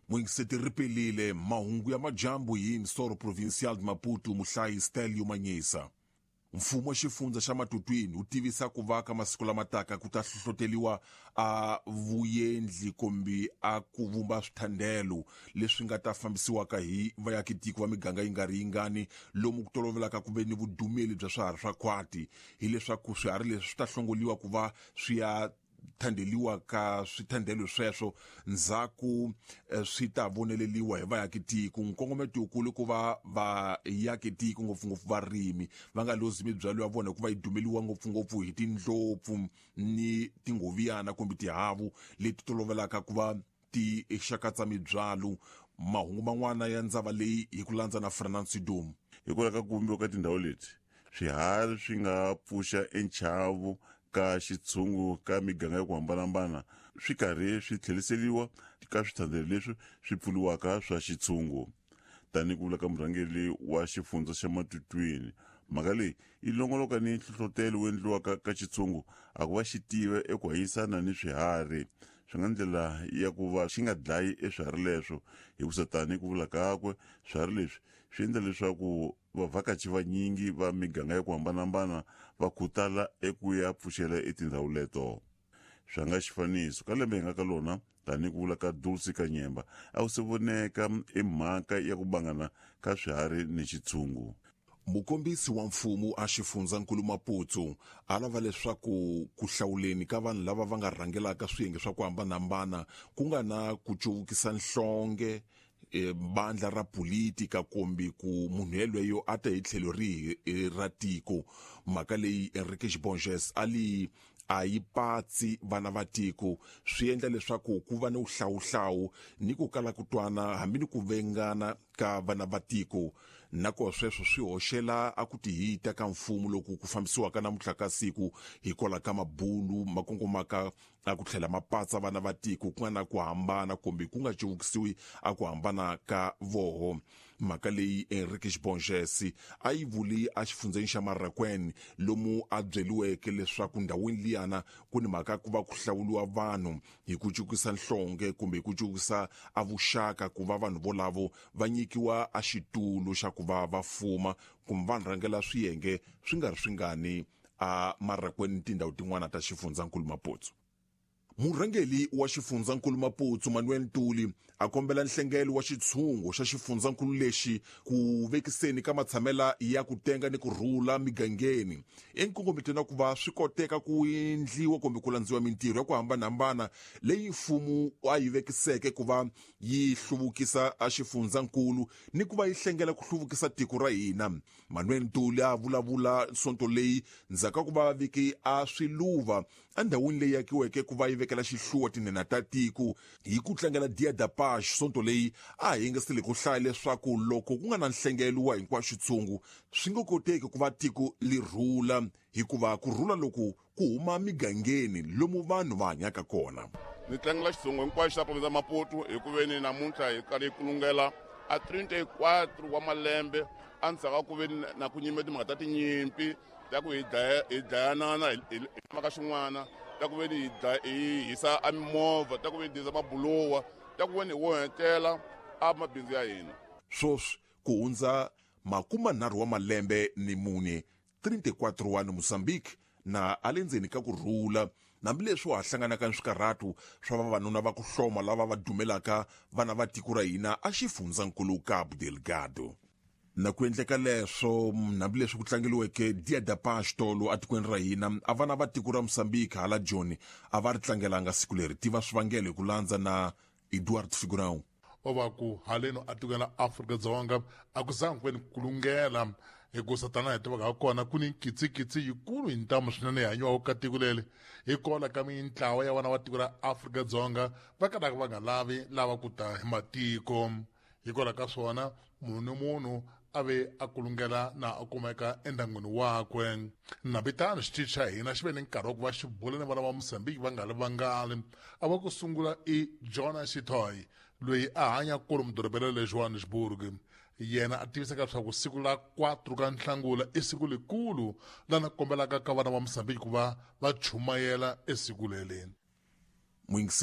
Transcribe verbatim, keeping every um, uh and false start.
Muingiseti ripelile mahungu ya majambu hi Emissora Provincial de Maputo muhlayi Stelio Manyisa. Mfumo wa xifundza xa Matutwini wu tivisa ku va ka masiku lama taka ku ta hlohloteliwa a vuyendli kumbe a ku vumba swithandelo leswi nga ta fambisiwaka hi vaakitiko va miganga yi nga ri yingani lomu ku tolovelaka ku ve ni vudumeli bya swiharhi swa khwati, hileswaku swiharhi leswi swi ta hlongoliwa ku va swi ya thandeliwa ka swithandelo sweswo ndzhaku swi ta voneleliwa hi vaakitiko. Nkongometo wukulu ku va vaakitiko ngopfungopfu varimi va nga lozi mibyalo ya vona hikuva yi dumeliwa ngopfungopfu hi tindlopfu ni tingoviyana kumbe tihavu leti tolovelaka ku va ti xakatsa mibyalo. Mahungu man'wana ya ndzava leyi hi ku landza na Fernand Sidum. Hikwalaho ka ku vumbiwa ka tindhawu leti, swiharhi swi nga pfuxa enchavu ka xitshungu ka miganga ya ku hambanahambana swi karhi swi tlheriseriwa ka swithandelo leswi swi pfuriwaka swa xitshungu. Tanihi ku vula ka murhangeri wa xifundza xa Matutwini, mhaka leyi yi longoloka ni nhlohlotelo wu endliwaka ka xitshungu a ku va xi tiva eku hanyisana ni swiharhi swi nga ndlela ya ku va xi nga dlayi eswiharhi leswo, hikusa tanihi ku vula kakwe swiharhi leswi swi endla leswaku vavhakachi vanyingi va miganga ya ku hambanahambana va khutala eku ya pfuxela etindhawu leto. Swa nga xifaniso ka lembe hi nga ka lona, tanihi ku vula ka Dulce Kanyemba, a wu se voneka emhaka ya ku bangana ka swiharhi ni xitshungu. Mukombisi wa mfumo a xifundzankulu Maputo a lava leswaku ku hlawuleni ka vanhu lava va nga rhangelaka swiyenge swa ku hambanahambana ku nga na ku cuvukisa nhlonge e bandla ra politika kumbe ku munhu yelweyo a ta hi tlhelo rihi ra tiko. Mhaka leyi Enrique Borges a li a yi patsi vana va tiko, swi endla leswaku ku va ni wuhlawuhlawu ni ku kala ku twana hambi ni ku vengana ka vana va tiko, nako sweswo swi hoxela a ku tihita ka mfumo loku ku fambisiwaka namuntlha ka siku hikwalaho ka mabulu ma kongomaka a ku tlhela ma patsa vana va tiko ku nga na ku hambana kumbe ku nga cuvukisiwi a ku hambana ka voho. Mhaka leyi Enrique Borges a yi vuli a xifundzeni xa Marraquene lomu a byeliweke leswaku ndhawini liyana ku ni mhaka ku va ku hlawuliwa vanhu hi ku cukisa nhlonge kumbe hi ku cukisa a vuxaka ku va vanhu volavo va nyikiwa a xitulu xa ku va va fuma kumbe va rhangela swiyenge swi nga ri swingani a Marraquene ni tindhawu tin'wana ta xifundzankulu Maputo. Murhangeri wa xifundzankulu Maputo Manuel Ntuli a kombela nhlengelo wa xitshungu xa xifundzankulu lexi ku vekiseni ka matshamela ya ku tenga ni ku rhula migangeni enkongometweni ku va swi koteka ku endliwa kumbe ku landziwa mintirho ya ku hambanahambana leyi mfumo a yi vekiseke ku va yi hluvukisa a xifundzankulu ni ku va yi hlengela ku hluvukisa tiko ra hina. Manuel Ntuli a vulavula sonto leyi ndzhaku ka ku va viki a swiluva endhawini leyi akiweke ku va yi vekela xihluwa tinhenha ta tiko hi ku tlangela Dia da Paz. Sonto leyi a hi yingisile ku hlaya leswaku loko ku nga na nhlengelo wa hinkwaxo xitshungu swi nga koteki ku va tiko li rhula, hikuva ku rhula loku ku huma migangeni lomu vanhu va hanyaka kona. Ni tlangela xitshungu hinkwaxo xa province ya Maputo hi ku veni namuntlha hi karhi hi kulungela a trinta e quatro wa malembe endzhaku ka ku ve na ku nyime timhaka ta tinyimpi ta ku hi dlaya hi dlayanana hi mhaka xin'wana, ta ku veni hi hisa a mimovha, ta ku veni hi hisa mabulowa, ta ku veni hi onhetela a mabindzu ya hina. Swoswi ku hundza makumanharhu wa malembe ni mune trinta e quatro wa Mozambique na a le ndzeni ka ku rhula, hambileswi wa ha hlanganaka ni swikarhatu swa vavanuna va ku hloma lava va dumelaka vana va tiko ra hina a xifundzankulu Cabo Delgado. Na ku endleka leswo hambileswi ku tlangeliweke Dia da Paz tolo etikweni ra hina, a vana va tiko ra Mozambique hala Joni a va ri tlangelanga siku leri. Tiva swivangelo hi ku landza na Eduard Figurão. O va ku haleno atikweni ra Afrika-Dzonga a ku zangi ku ve ni kulungela, hikusa tanihi hi tivaka ha kona ku ni nkitsikitsi yikulu hi ntamu swinene hi hanyiwaka ka tiko leri, hikwalaho ka mintlawa ya vana va tiko ra Afrika-Dzonga va kalaka va nga lavi lava ku ta hi matiko. Hikwalaho ka swona munhu ni munhu a ve a kulungela na a kumeka endyangwini wakwe. Nambitano xitichi xa hina xi ve ni nkarhi wa ku va xi bula ni vana va Mozambique va nga ri vangali. A va ku sungula i Jonas Xitoy loyi a hanya kolomu dorobeni le Johannesburg. Yena a tivisaka leswaku siku la quatro ka Nhlangula i siku likulu lana kombelaka ka vana va Mozambique ku va va chumayela esiku leri. Muyingiseri.